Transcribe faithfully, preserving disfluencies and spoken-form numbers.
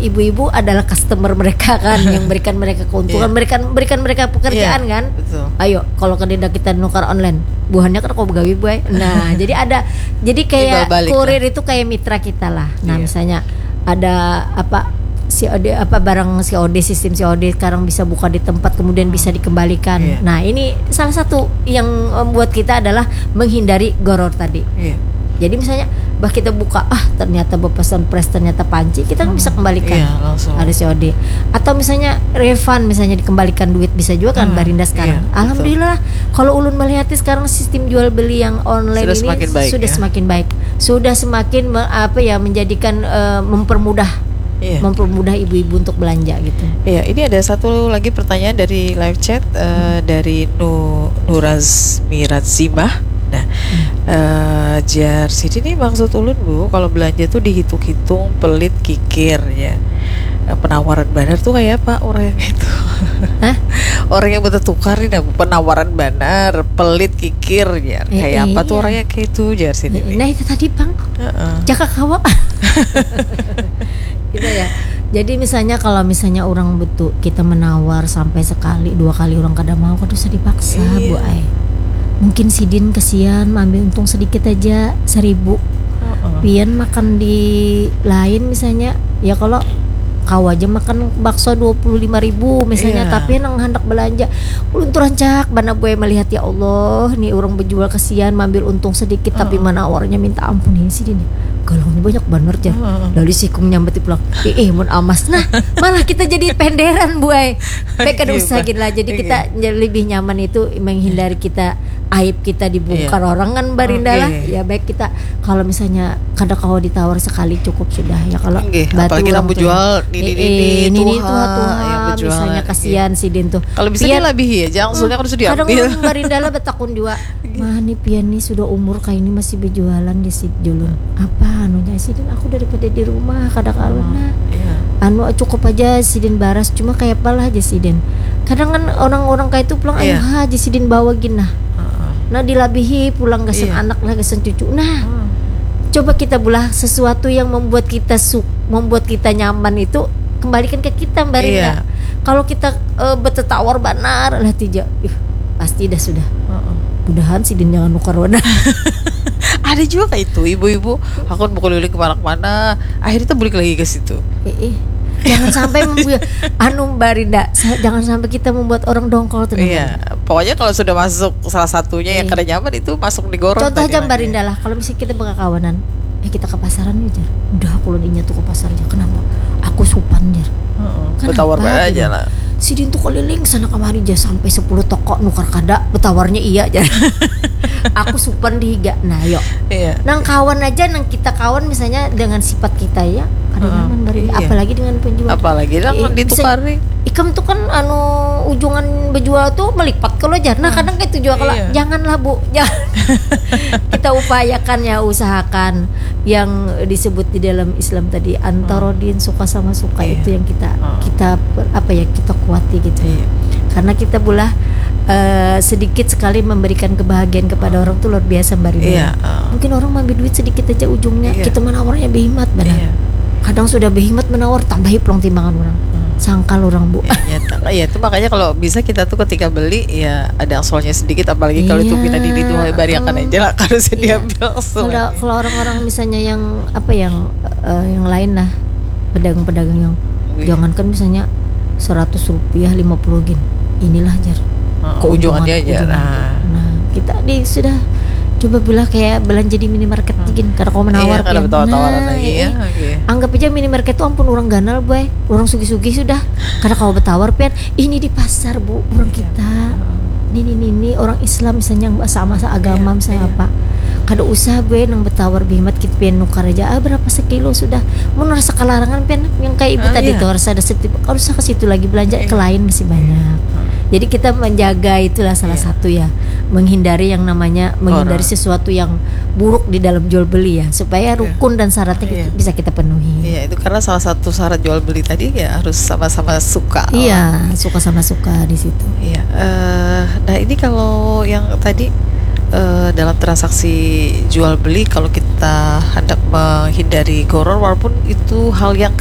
ibu-ibu adalah customer mereka kan, yang berikan mereka keuntungan, Iya. berikan berikan mereka pekerjaan Iya, kan. Betul. Ayo, kalau kada kita nukar online, buhannya kan kau begawi buai. Nah, jadi ada, jadi kayak Timbal balik kurir itu kayak mitra kita lah. Nah, Iya. Misalnya ada apa, C O D, apa, barang C O D, sistem C O D sekarang bisa buka di tempat, kemudian bisa dikembalikan. Iya. Nah, ini salah satu yang membuat kita adalah menghindari goror tadi. Iya. Jadi misalnya, bah, kita buka, ah, ternyata bepesan press, ternyata panci, kita kan bisa kembalikan. Iya, langsung. Ada C O D. Atau misalnya refund, misalnya dikembalikan duit, bisa juga kan, Hmm, Barinda sekarang. Iya, betul. Alhamdulillah, kalau ulun melihat sekarang sistem jual beli yang online Sudah ini semakin baik, sudah ya. semakin baik. Sudah semakin me- apa ya, menjadikan, eh, mempermudah Iya. mempermudah ibu-ibu untuk belanja gitu. Iya, ini ada satu lagi pertanyaan dari live chat, eh, dari Nu Nuraz Mirazimah. Nah, eh, jar sini nih, maksud ulun, Bu, kalau belanja tuh dihitung-hitung, pelit, kikir, ya. Eh, penawaran banar tuh kayak apa orang yang itu? Hah? Orang yang betul tukar nih, nah, penawaran banar, pelit, kikir, ya. Eh, Kayak eh, apa tuh iya. Orang yang kayak itu, jar sini nih. Nah, itu tadi, Bang. Heeh. Jaka kawa. Gitu ya. Jadi misalnya, kalau misalnya orang betul kita menawar sampai sekali dua kali orang kada mau, kada usah dipaksa, Iya. Bu ai. Mungkin sidin kesian, ambil untung sedikit aja, seribu. Heeh. Pian makan di lain misalnya, ya kalau kau aja makan bakso dua puluh lima ribu misalnya, Iya. Tapi nang hendak belanja, ulun tuh rancak banar, Bu ai, melihat, ya Allah, nih orang berjual kesian, ambil untung sedikit, tapi Heeh. menawarnya minta ampun ini sidin. Galaunya banyak banar, jar. Heeh. Lalu sikung nyambati pulang, eh, eh, mun amas. Nah, malah kita jadi penderan, Bu ai. Baik, kada Iya, usah Pak. Gin lah. Jadi Iya. Kita lebih nyaman itu menghindari kita aib kita dibongkar Iya. orang kan, Barinda lah. Oke. Ya, baik, kita kalau misalnya kada kawa ditawar sekali, cukup sudah ya. Kalau Nggih, batu apalagi orang nang tuh, bejual nini, eh, nini, eh, nini tuha, tuha, tuha, yang bejual, misalnya, iya. Kasihan sidin tuh. Kalau bisa Pian, dilabihi aja, maksudnya kan sudah kadang diambil. Orang Barinda lah betakun jua. Mah, ni pian ni sudah umur kayak ini masih berjualan di si julun. Apa anunya sidin, aku daripada di rumah kada karuan, nah. Iya. Anu, cukup aja sidin baras, cuma kayak apalah aja sidin. Kadang kan orang-orang kayak itu pulang, Iya. Ayuha aja sidin bawa gin, nah. Heeh. Nah, dilabihi pulang gasan Iya. anak lah, gasan cucu. Nah, Hmm. coba kita bulah sesuatu yang membuat kita su membuat kita nyaman itu kembalikan ke kita, Barinda. Iya. Kalau kita, eh, betetawar banar lah tija, ih, pasti dah sudah. Heeh. Mudahan sidin jangan nukar wadah. Ada juga kayak itu, ibu-ibu, aku mau keliling kemana-mana, akhirnya tuh balik lagi ke situ. Eh, eh. Jangan sampai membuat anu, Barinda, sa- jangan sampai kita membuat orang dongkol tuh. Iya, pokoknya kalau sudah masuk salah satunya yang Iya. Kada nyaman, itu masuk di gorong Contoh tadi aja, lagi. Barinda lah, kalau misalnya kita berkawanan, eh, kita ke pasaran nih, jar. Udah, aku ulun inya tuh ke pasar aja. Kenapa? Aku supan, jar. Heeh, Kenapa, betawar bae aja gitu? Lah. Sidin tuh keliling sana kemari aja sampai sepuluh toko, nukar kada, betawarnya iya, jar. Aku supan di higa. Nah, yuk. Iya. Nang kawan aja, nang kita kawan misalnya dengan sifat kita ya, kada Heeh, nyaman, Barinda. Iya. Apalagi dengan penjual. Apalagi lah Iya, bisa- ditukari. Ikam tuh kan anu, ujungan bejual tuh melipat kalau, jar. Nah, kadang kayak itu juga kalau, Iya. Janganlah, Bu, jangan. Kita upayakan ya, usahakan yang disebut di dalam Islam tadi, antarodin, suka sama suka, Iya. Itu yang kita Hmm. kita per- apa ya, kita kuati gitu. Iya. Karena kita bulah, eh, sedikit sekali memberikan kebahagiaan kepada orang tuh luar biasa, Barinda. Iya, ah. Mungkin orang maambil duit sedikit aja ujungnya, Iya. Kita menawarnya behimat banar. Iya. Kadang sudah behimat menawar, tambahi pulang timbangan orang. Hmm. Sangkal orang, Bu. Ya, nyata. Ya, itu makanya kalau bisa kita tuh ketika beli, ya ada angsolnya sedikit, apalagi kalau itu Iya. pina dini tuh, bariakan Hmm. aja lah, kalau bisa Iya. diambil langsung. Kalau kalau orang-orang misalnya yang apa, yang, eh, yang lain lah, pedagang-pedagang yang Wih. Jangankan misalnya seratus rupiah, lima puluh gin, inilah, jar. Heeh, Keuntungan, ujungannya aja. ujungan. Nah. Nah, kita di sudah coba bilang kayak belanja di minimarket Hmm. gin, kada kau menawar, Iya, kada pian. betawar-tawaran Nah, lagi, eh, ya, eh. oke. Anggap aja minimarket tuh ampun orang ganal, boy, orang sugih-sugih sudah, kada kau betawar, pian. Ini di pasar, Bu, orang kita. Nini-nini orang Islam misalnya, yang sama seagama, Iya, misalnya iya. Apa. Kada usah, boy, nang betawar behimat, kita pian nukar aja. Ah, berapa sekilo sudah? Mun rasa kelarangan, pian, yang kayak ibu Ah, tadi iya. Tuh, rasa setip, kada usah ke situ lagi belanja, Iya. Ke lain masih banyak. Jadi kita menjaga itulah salah Iya. satu ya, menghindari yang namanya menghindari Orang. Sesuatu yang buruk di dalam jual beli ya, supaya Iya. rukun dan syaratnya kita- Iya. Bisa kita penuhi. Iya, itu karena salah satu syarat jual beli tadi ya harus sama-sama suka. Iya, suka sama suka di situ. Iya, eh, nah, ini kalau yang tadi, eh, dalam transaksi jual beli, kalau kita hendak menghindari goror, walaupun itu hal yang